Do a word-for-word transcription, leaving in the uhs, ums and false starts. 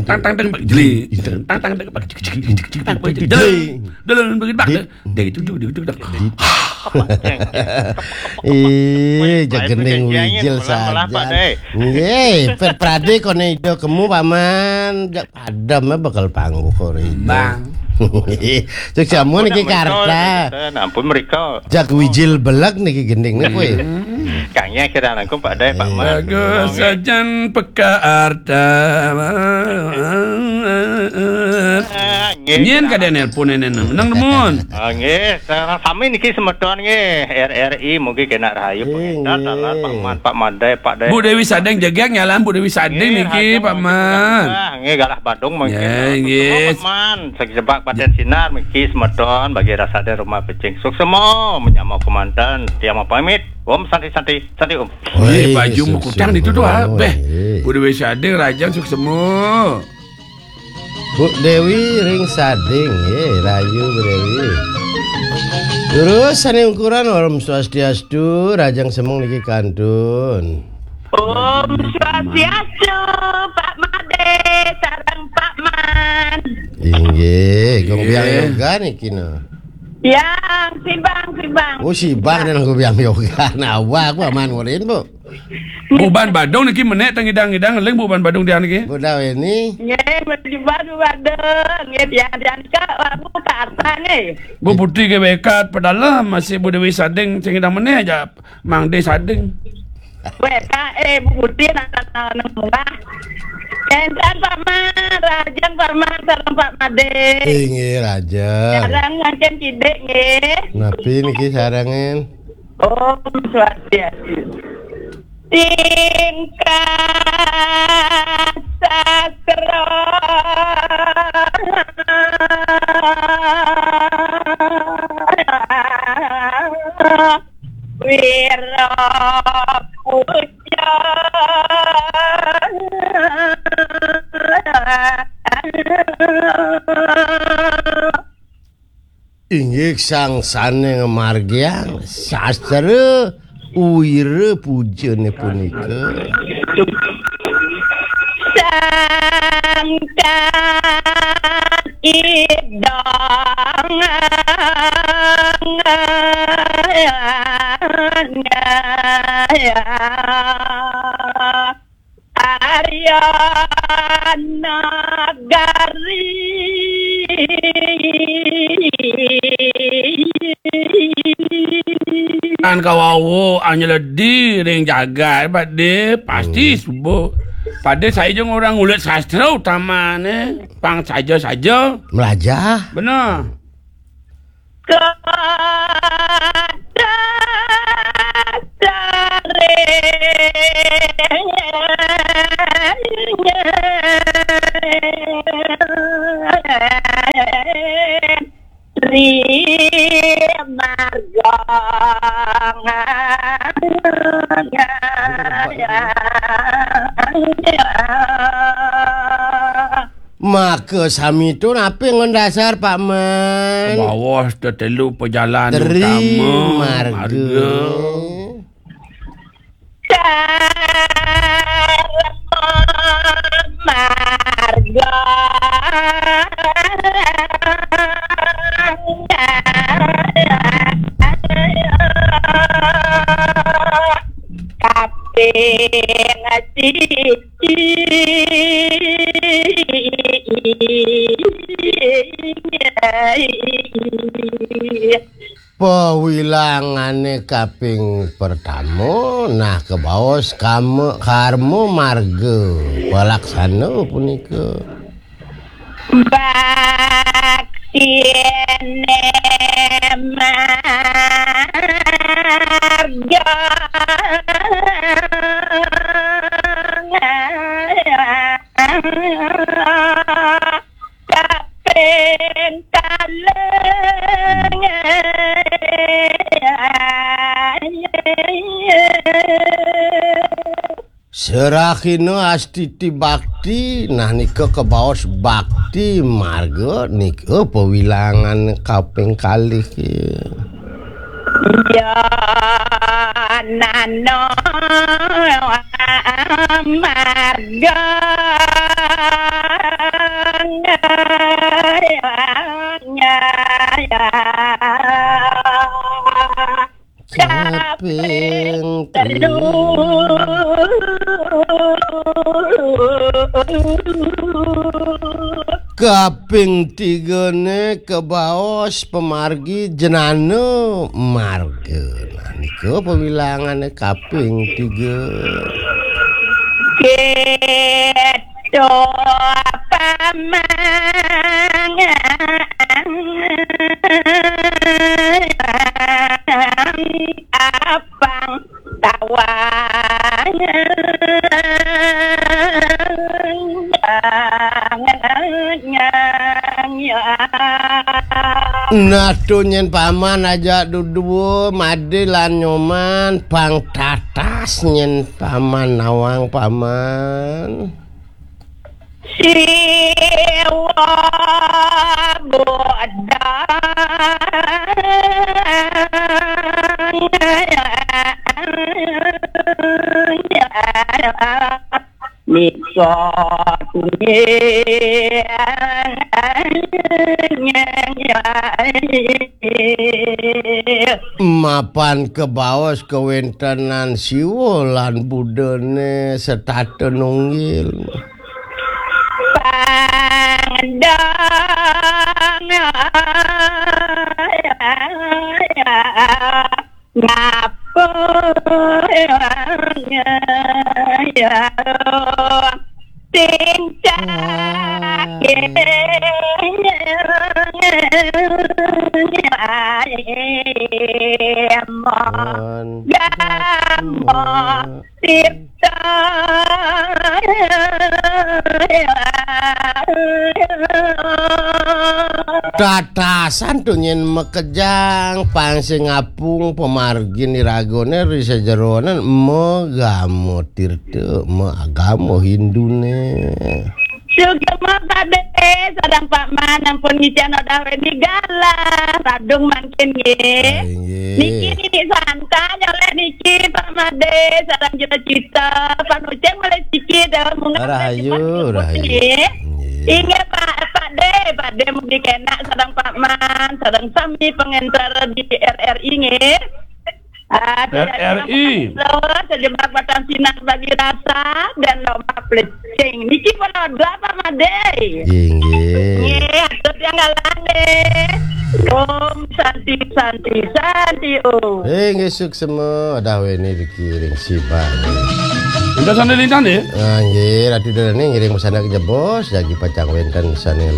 Tang, tang, tang, bak jeli. Tang, tang, tang, bak jeli. Tang, bak jeli. Dalam, dalam, bak jeli. Dia gitu, dia gitu, dia gitu. Ih, jagending wijil saja. Nggih, Pet Prade kono ida kemu, Paman. Jak padam bakal pangguh kok ida. Bang. Cek jamu niki Karta. Ampun mereka. Jak wijil beleg niki gending niki kowe. Kangnya kira langkung Pak Dai, Pak Mas. Bagus sajan peka arta. Ah, nggih. Nyen kada nelpon nenen. Nang demun. Ah, nggih, sareng sami niki semeton nggih. R R I mugi kena rahayu pengedar dalan Pak Man, Pak Madai, Pak Dai. Bu Dewi Sadeng jegeg nyalam Bu Dewi Sadeng niki Pak Man. Ah, nggih galah Badung mungkin. Nggih, nggih. Pak Man, segi sebak paten sinar miki semeton bagi rasa ada rumah pecing. Suksemo menyama kemanten. Tiang mau pamit. Om santi santi santi om. Wih, baju mau kutang itu tuh ah. Beh, Bu Dewi Sadeng rajang suksemo. Bu Dewi ring sading, ye, rayu Bu Dewi. Terus sane ukuran Om Swastiastu, rajang semeng niki kantun. Om Swastiastu, Pak Made, sareng Pak Man. Inggih, Gong Biang Yoga niki no. Yang sibang, sibang. Oh, sibang dan Gong Biang Yoga. Nah, wah, aku aman ngurin, Bu. Buban Badung niki menek tengidang-idang ling Buban Badung dia niki. Buda Weni. Nggih, mesti Badung Badung. Nggih, dia dia ka aku kata nggih. Bu Putri ke bekat pedalam masih Bu Dewi Sading tengidang menek aja Mang De Sading. Weka eh Bu Putri nak nak nang munggah. Entan Pak Man, rajang Pak Man, sareng Pak Made. Inggih, rajang. Sareng ngancen kidik nggih. Napi niki sarengen? Om Swastiastu. Tingkah sastra Wira Puja. Inggih sang sane ngamargiang sastra wira pujane punika. Sangkan idang Arya Nagari. Kan kawawu anyeledi ring jagat, Pak De, pasti subuh. Pak De, saya jeung orang ngulit sastra utamane, pang saja-saja. Melajah. Bener. Kada sare. Ri marga. Maka sami tu napi ngon dasar, Pak Man? Bawah tetelu pejalan Tri utama marga. Marga. Karma marga. Kaping siji. Pawilangane kaping pertama, nah, kebaos kama, karma marga palaksana punika. Baktine marga. Kaping kalih. Serahina astiti bakti, nah nika kebaos bakti marga nika pawilangan kaping kalih. Ya nano marga. Kaping telu. Kaping tigane kebaos pamargi jenana marga. Nah, nika pawilangane kaping tiga. Keto pamang apang tawang. Nah, tu nyen paman aja dudua, Made lan Nyoman, pang tatas nyen paman nawang paman. Siwa bodang. Miksa tunggil. Mapan kebaos kawentenan Siwa lan Budane setata nunggil. Pangdang. Ngapa? Tincak. Mon. Gamo. Sip. Tatasan tu nyen makejang, pang sing apung pamargin iragane ri sajeroning magama tirta, magama Hindune. Sugeng Pak De, sareng Pak Man, ampun ngicen odah weni galah, radung mangkin nggih. Ah, inggih. Niki Nini Santa nyolek niki, Pak Made, sareng Jero Cita, panucing malih siki, Dewa Munggah. Rahayu, rahayu. Nggih. Inggih, Pak, Pak De, Pak De mugi kenak sareng Pak Man, sareng sami pengenter di R R I nggih. Ah, R R I. Sejebak batang sinar bagi rasa dan lomba plecing. Niki pun ada, Pak Made. Inggih. Nggih, atur yang galane. Om Santi, Santi, Santi, Om. Inggih, suksema, odah weni dikiring sibak. Udah sana lintang deh. Ah, nggih, Ratu Darani ngiring pesanan kejebos, jagi pacang wenten sane